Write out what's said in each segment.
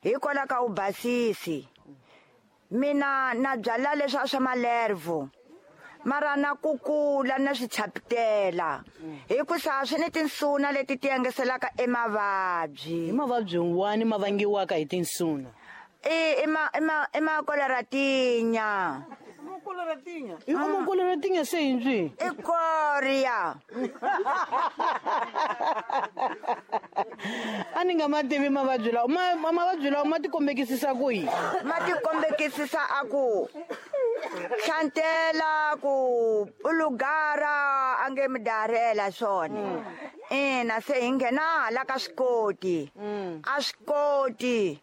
Hikwalaho ka vubasisi mina na byala leswi swa malervo mara na kukula na swi chapitela hikusa swi ni tinsuna leti ti yengeselaka emavabyi. Hi mavabyi wani ma vangiwaka hi tinsuna? I i ma i ma i makoleratinya. I makoleratinya se hi ndzi I koria. A ni nga ma tivi mavabyi lawa. Mavabyi lawa ma tikombekisisa ku yini? Ma tikombekisisa a ku hlantela, ku ulugara a nge mi darhela swona. Ina, se hi nghena hala ka swikoti. A swikoti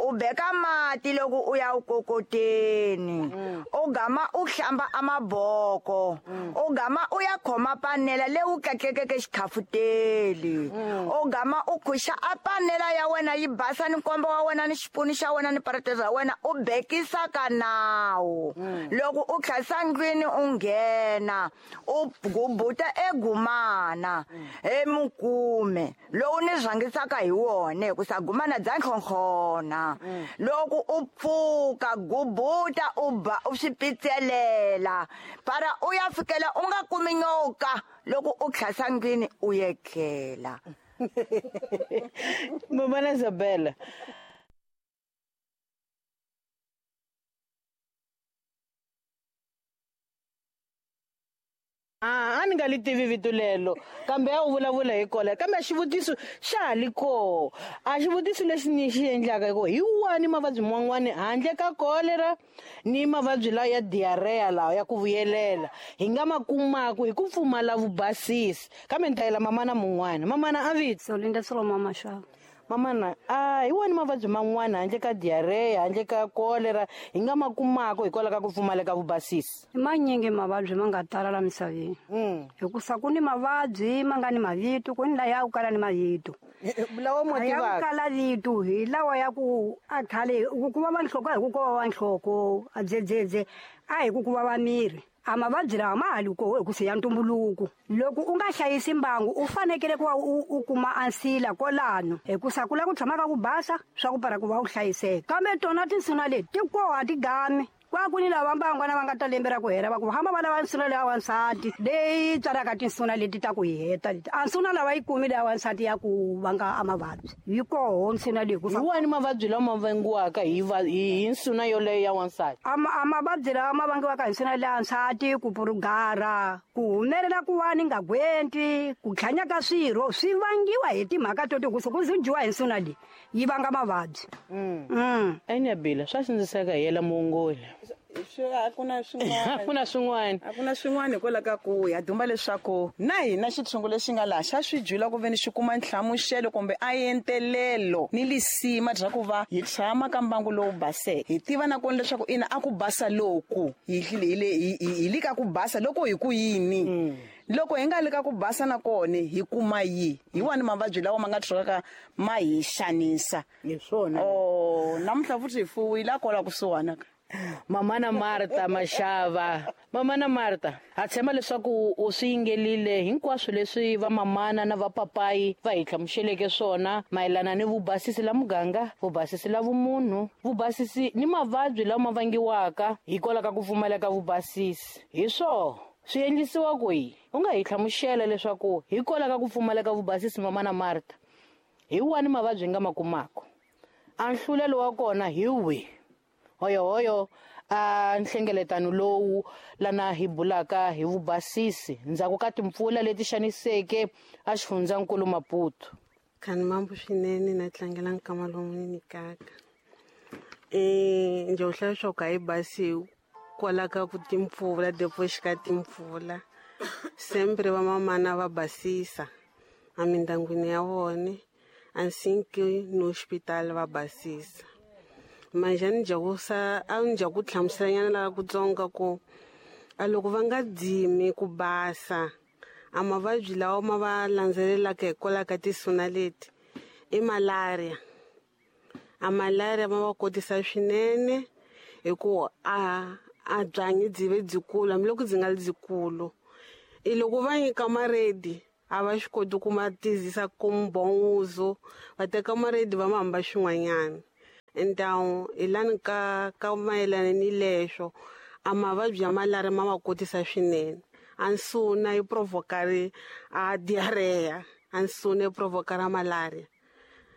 u beka mati loko u ya u kokoteni, u gama u hlamba a maboko, u gama u ya khoma panela leyi u tlatlekeke xikhafuteli, u gama u khuxa a panela ya wena yi basa ni nkombo wa wena ni xipunu xa wena ni parete ra wena, u bekisa ka nawu. Loko u tlhasa ndlwini u nghena u gubuta egumana emukume lowu ni rhangisaka hi wona, hikusa gumana bya nhlonhlona. Loko u pfuka gubuta u ba u swi pitselela para u ya fikela u nga kumi nyoka loko u tlhasa ndlwini u yetlela. Mamana Isabella, a ni nga li tivi vito lelo, kambe a wu vulavula hi kolera. Kambe a xivutiso xa ha li koho. A xivutiso lexi ni xi endlaka i ku hi wani mavabyi man'wani handle ka kolera ni mavabyi lawa ya diarrhea lawa ya ku vuyelela hi nga ma kumaku hi ku pfumala vubasisi? Kambe ni ta yela mamana mun'wana. Mamana a vito? Solinda Solomon Mashava. Mamana, a hi wani mavabyi man'wana handle ka diarrhea, handle ka kolera hi nga ma kumaka hikwalaho ka ku pfumaleka vubasisi? I manyingi mavabyi ma nga tala la misaveni. Hikusa ku ni mavabyi ma nga ni mavito, ku ni laya ya ku kala ni mavito. Lawa mo A ya ku tivaka? kala vito hi lawa ya ku a khale ku vava nhloko a hi ku ko vava nhloko, a dzedzedze a hi ku ku vava miri. A mavabyi lawa ma ha li koho hikusa ya ntumbuluko. Loko u nga hlayisi mbangu u fanekele ku va u kuma ansila kwalano, hikusa ku lava ku tshama ka ku basa swa ku para ku va u hlayiseka. Kambe tona tinsuna leti ti koho a ti gami. Kwa ku ni lava mbangwana va nga ta lembe ra ku hela va ku hamba va lava nsuna leya wansati leyi tswalaka tinsuna leti ta ku hi heta leti. A nsuna lava yi kumi leya wansati ya ku vanga a mavabyi. Yi koho nsuna leyi ku Hi wani mavabyi lawa ma vangiwaka hi nsuna yoleyo ya wansati? A mavabyi lawa ma vangiwaka hi nsuna leya wansati, ku purugara, ku humelela ku va ni nga gwenti, ku tlhanya ka swirho swi vangiwa hi timhaka to hikusa ku dyiwa hi nsuna leyi yi vanga mavabyi. Eniyabila, swa sindziseka hi yela muongori. Swi a ku na swin'wana. A ku na swin'wana. A ku na swin'wana hikwalaho ka ku ya dumba leswaku na hina xitshungu lexi nga laha xa swi dyula ku veni xi kuma nhlamuselo kumbe a entelelo ni lisima bya ku va hi tshama ka mbangu lowu baseke. Hi tiva na kona leswaku ina a ku basa loku hi hi li ka ku basa loko hi ku yini. Loko hi nga li ka ku basa na kona hi kuma yi hi wani mavabyi lawa ma nga tshukaka ma hi xanisa. Hi swona. Oh, namuntlha futhi hi fuwile a kwala kusuhana ka. Mamana Martha Mashava. Mamana Martha, ha tshemba leswaku u swi yingelile hinkwaswo leswi va mamana na va papayi va hi hlamuseleke swona mayelana ni vubasisi la muganga, vubasisi la vumunhu, vubasisi ni mavabyi lama ma vangiwaka hikwalaho ka ku pfumaleka vubasisi. Hi swoho swi endlisiwa kwihi? U nga hi hlamusela leswaku hikwalaho ka ku pfumaleka vubasisi, Mamana Martha, hi wani mavabyi nga ma kumaka? A nhlulelo wa kona hi wihi? Hoyo hoyo a nhlengeletano lowu lana hi bulaka hi vubasisi ndzhaku ka timpfula leti xaniseke a xifundzankulu Maputo. Khani mambo swinene na tlangela nkama lowu ni nyikaka. Njhe u hlaya swa ku a yi basi kwala ka ku timpfula, depo xika timpfula. Sempre va mamana va basisa emindyangwini ya vona, a nsinki ni hospital va basisa. Manje a ni dya ku sa, a ni dya ku hlamuselanyana laha kutsongo ku a loko va nga dzimi ku basa, a mavabyi lawa ma va landzelelaka hikwalaho ka tinsuna leti i malaria. A malaria ma va kotisa swinene hi ku a byanyi byi ve byikulu, hambiloko byi nga ri byikulu. I loko va nyika maredi a va swi koti ku ma tizisa ku mbhonguzo, va teka maredi va ma hamba xin'wanyana. Então hi lani ka mayelana ni leswo a mavabyi ya malaria ma va kotisa swinene. A nsuna yi provoka a diarrhea, a nsuna yi provoka ra malaria.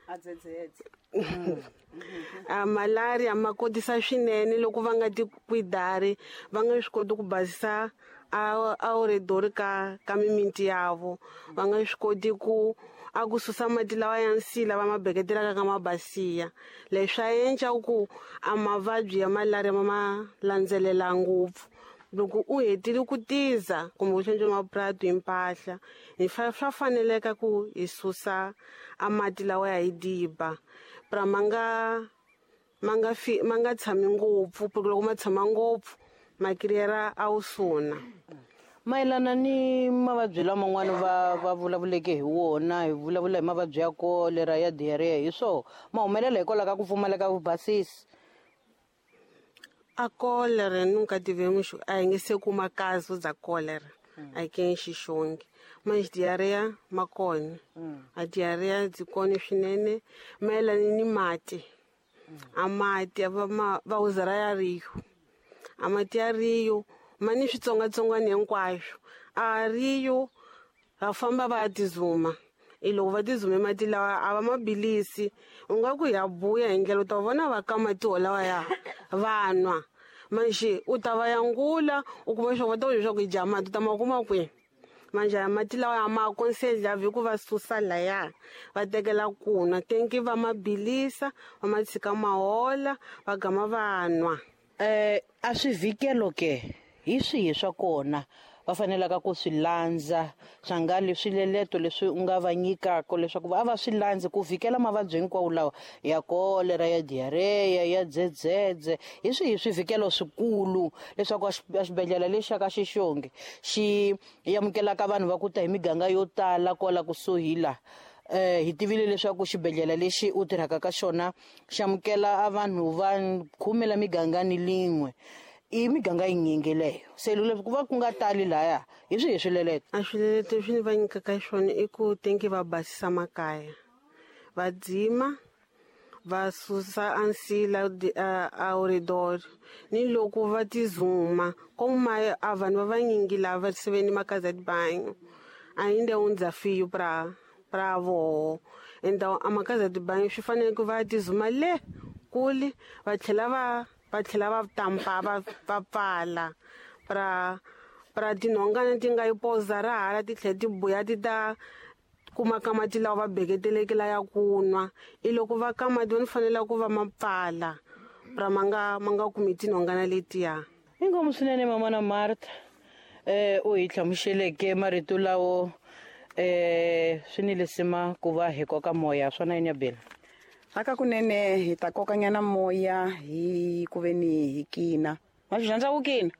A dzedzedze. A malaria ma kotisa swinene loko va nga ti kwidari, va nga swi koti ku basisa a oredori ka mimiti yavo, va nga swi koti ku a ku susa mati lawa ya nsila va ma beketelaka ka mabasiya. Leswi swa endla ku a mavabyi ya malaria ma ma landzelela ngopfu. Loko u hetile ku tiza kumbe u hlantswa mapurasi hi mpahla, hi swa faneleka ku hi susa a mati lawa ya hi diba pra ma nga tshami ngopfu, porque loko ma tshama ngopfu ma kiriyera a wu suna. Mayelana ni mavabyi laman'wana va vulavuleke hi wona, hi vulavula hi mavabyi ya kolera, ya diarrhea, hi swoho ma humelela hikwalaho ka ku pfumaleka vubasisi. A kolera nunca tivemos, a hi nge se kuma caso za kolera aqui em Xixonge, mas diarreia ma kona. A diarreia byi kona swinene mayelana ni mati. A mati va uzara ya Rio, a mati ya Rio ma ni switsongwatsongwana hinkwaswo. A Rio va famba va ya tizuma, i loko va tizume mati lawa a va ma bilisi, u nga ku ya buya hi ndlela u ta vona va ka mati wolawa ya va nwa. Manjhe u ta va yangula u kuma leswaku va ta ku leswaku i dya mati u ta ma kuma kwihi. Manjhe ya mati lawa ya ma aconselhavi ku va susa laya va tekela ku nwa, tenki va ma bilisa va ma tshika ma hola va gama va nwa. A swivikelo ke hi swihi swa kona va fanelaka ku swi landza, swa nga leswi leleto leswi u nga va nyikaka leswaku a va swi landzi ku vhikela mavabyi hinkwawo lawa ya kolera, ya diarrhea, ya dzedzedze, hi swihi swivikelo swikulu leswaku a xibedhlele lexi xa ka Xixonge xi amukelaka vanhu va ku ta hi miganga yo tala kwala kusuhi la. Hi tivile leswaku xibedhlele lexi u tirhaka ka xona xi amukela a vanhu va 10 la miganga ni lin'we. I miganga yinyingi leyo, se loko ku va ku nga tali laya, hi swihi swileleto? A swileleto leswi ni va nyikaka swona i ku tenki va basisa makaya, va dzima, va susa a nsila a oredor, ni loko va tizuma como a vanhu va vanyingi lava se ve ni makaza de banho ainda é um desafio pra voho. Então a makaza de banho swi fanele ku va tizuma le kule, va tlhela va tlhela va tampa va pfala pra tinhongana ti nga yi poza ra hala ti tlhela ti buya ti ta kuma ka mati lawa va beketeleke la ya ku nwa. I loko va ka mati va ni fanele ku va ma pfala pra ma nga kumi tinhongana letiya. Inkomu swinene mama na Martha, u hi hlamuseleke marito lawo, swi ni lisima ku va hi koka moya swona yini ya bela. Aka kunene hi ta kokanyana moya hi ku ve ni hi kina. Ma swi rhandza ku kina?